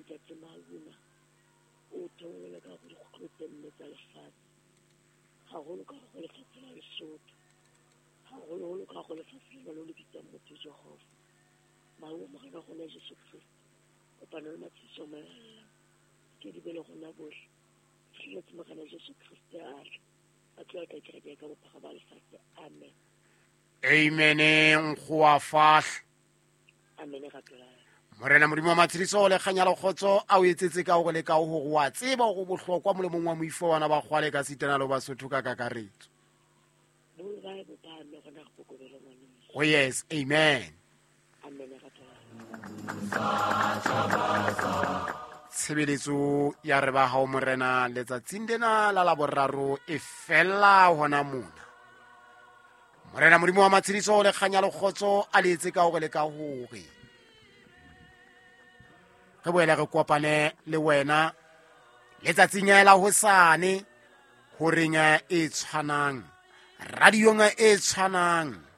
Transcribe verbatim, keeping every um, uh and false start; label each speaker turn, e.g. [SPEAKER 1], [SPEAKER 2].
[SPEAKER 1] Ntate Mauna o theolele ka go dikgutlo tse nne tsa lefatshe, haholo ka go lefatshe la Lesotho, haholoholo ka go lefatshe lena le le bitsang motho Jehova. Mahu Morena rona Jesu Kriste, kopano le matshediso a mahallang ke di be le rona bohle. Fihletse Morena Jesu Kriste a tla, a tlo ata kereke ka bophara ba lefatshe. Amen.
[SPEAKER 2] Amen. Nkgowa fahla.
[SPEAKER 1] Amen. Ratolang.
[SPEAKER 2] Morena Modimo wa matshediso le kganya le kgotso a o etsetse ka hore le ka hore wa tseba hore bohlokwa molemong wa moifo wa ba kgwale ka sitana le Basotho ka kakaretso. Oh yes, amen.
[SPEAKER 1] Amen.
[SPEAKER 2] Tshebeletso ya re ba hao Morena letsatsing lena la laboraro e fella hona mona. Morena Modimo wa matshediso le kganya le kgotso a le etse ka hore le ka hore re boele re kopane le wena letsatsing la hosane horeng e tshwanang, radiong e tshwanang.